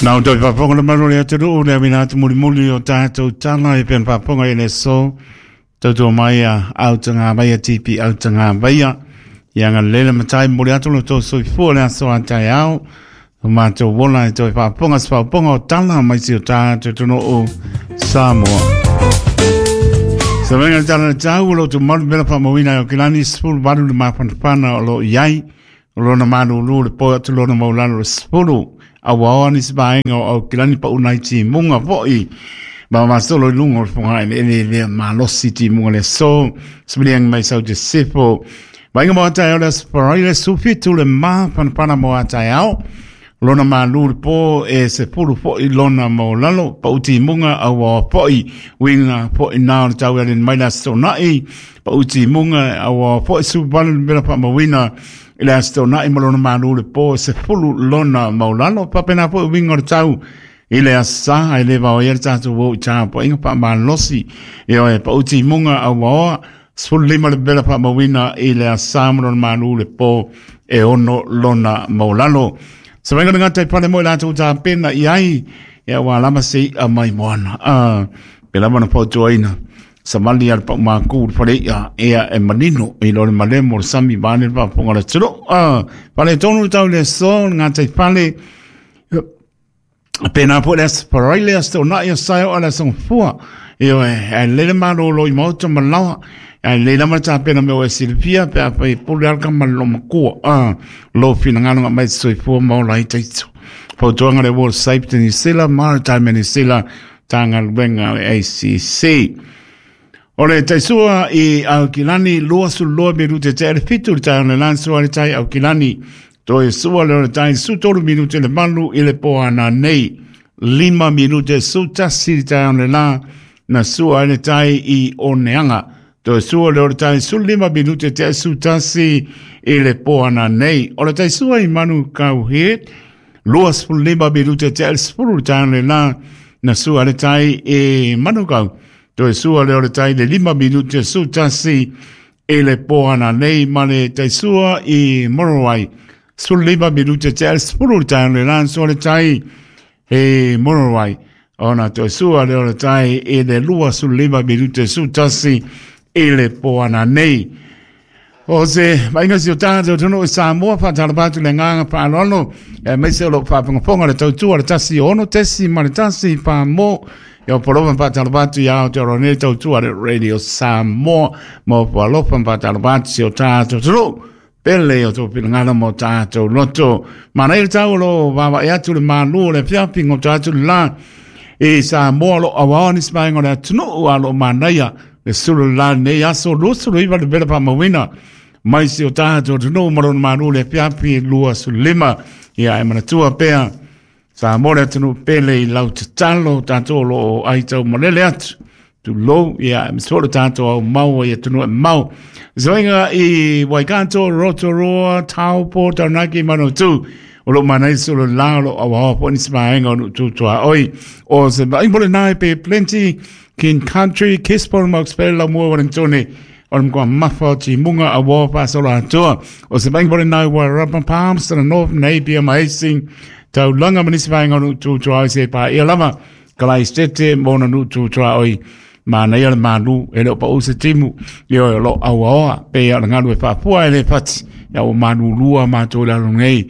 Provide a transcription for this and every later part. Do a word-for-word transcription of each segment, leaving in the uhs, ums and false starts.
Nau toi paponga le malu le atunuu le amina atu mulimuli o tātou tala e pena paponga i le so tautua mai a autanga vaia tipi autanga vaia ia nga lele matai muli atu lo tō soifua le aso a tai ao o mātou wola e toi paponga se paponga o tala mai si o tātou tunuu Samoa. Sa venga le tala le tau o lo tu malu mela whamawina o kilani spulu waru le mapanapana o lo iai o lona malulu le po atu lona maulalo le spulu awa ni sbaenga o kilani pa unai ti munga foi ba ma solo lungo o fonga ele ele le malosi ti munga le so sbiliang mai sau de sifo vainga mo tai o le sparaile sufitu le ma panapana mo atai ao lona malu le po e se pulu foi lona mo lalo pa uti munga awa foi winga foi na o tau ele mai la sonai pa uti munga awa foi su balu mela pa mawina i le aso na i malona malu le po se fulu lona maulalo papena po winga o tau i le asa ai le vao ia le tātou wo i tā po inga pa malosi e oe pa uti munga awa oa sefulu lima le bela pa mawina i le asa malona malu le po e ono lona maulalo. Sa venga ngā tai pale mo i lātou tā pena i ai ia wā lama se i a mai moana. Ah, pe lama na pautuaina. Sa mali al pa māku le pale ia ea e manino i lore malemo le sami vane le paponga le turo. Ah, pale tonu tau le so ngā tai pale pena po le asparai le asto na ia saio ala song fua. E oe, e lele malo lo i mauta malawa. E le lama tā pena me oe silipia pe a pai pule alka malo makua. Ah, lo fina ngano nga mai soifua maola i taitu. Pautuanga le World Safety ni sila, Maritime ni sila, tānga luenga le A C C. O le taisua i Aukilani, lua su loa minute te ele fitu le tai o le lansua le tai Aukilani. Toi sua le o le tai su tolu minute le malu i le poana nei. Lima minute su tasi le tai o le la na sua le tai i Oneanga. Toi sua le o le tai su lima minute te su tasi i le poana nei. O le tai sua i Manu Kauhet, lua su lima minute te ele spuru le tai o le la na sua le tai i Manu Kau. Toi sua le o le tai le lima minute su tasi e le poana nei ma le tai sua i Morowai. Su lima minute te ele spuru le tai o le la sua le tai e Morowai. Ona toi sua le o le tai e le lua su lima minute su tasi e le poana nei. O se mainga si o tātou tunu i Samoa whātalapatu le ngānga whaalolo e meise o lo whāpangaponga le tautua le tasi ono tesi ma le tasi whāmo ia polofa whātalapatu i Aotearoa nei tautua le Radio Samoa mo whalofa whātalapatu si o tātou tunu pele o tō pinangana mo tātou loto. Mana i le tau lo wawa e atu le mālu le whiapinga o tātou la e Samoa lo awaoni smainga le atunu a lo manaia le sulu la nei aso lusulu iwa le bela pa mawina mai si o tātou tunu marona mālu le whiapi lua sulima ia e manatua pea Samoa le atunu pele i lau tatalo tātou lo o aitau malele atu tu lou ia e misolo tātou au maua i atunu e mau. Zoinga i Waikato, Rotorua, Taupo, Taranaki, Manutū o lo manai solo la lo awa po ni smaenga o tutua oi o se ba imbole nai pe plenty King Country Kispon Moxpel la mua Warringtone o mkwa mafa ti munga awa pa solo atua o se ba imbole nai wa Rubber Palms to the North Napier Maising taulanga manismaenga o tutua oi se pa ia lava kalai stete mona nu tutua oi mana ia le malu e le o pa use timu i o lo awa pe ia ngalu e papua e le pati ia o manu lua mātou lalo nei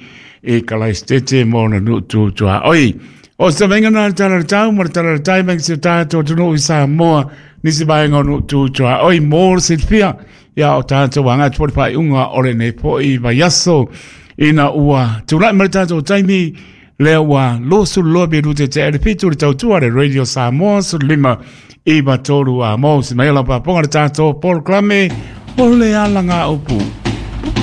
e kalai stete mona nu tutua oi. O sa venga na tala tau mo tala tau menga se tātou tunu i Samoa nisi vaenga o nu tutua oi mo silfia ia o tātou anga atu pai unga o le nei po i vaiaso ina ua tulai ma le tātou taimi lea ua losu loa minute te ele fitu le tautua le Radio Samoa su lima iwa tolu a mo si mai la paponga le tātou polokalame o le alanga upu.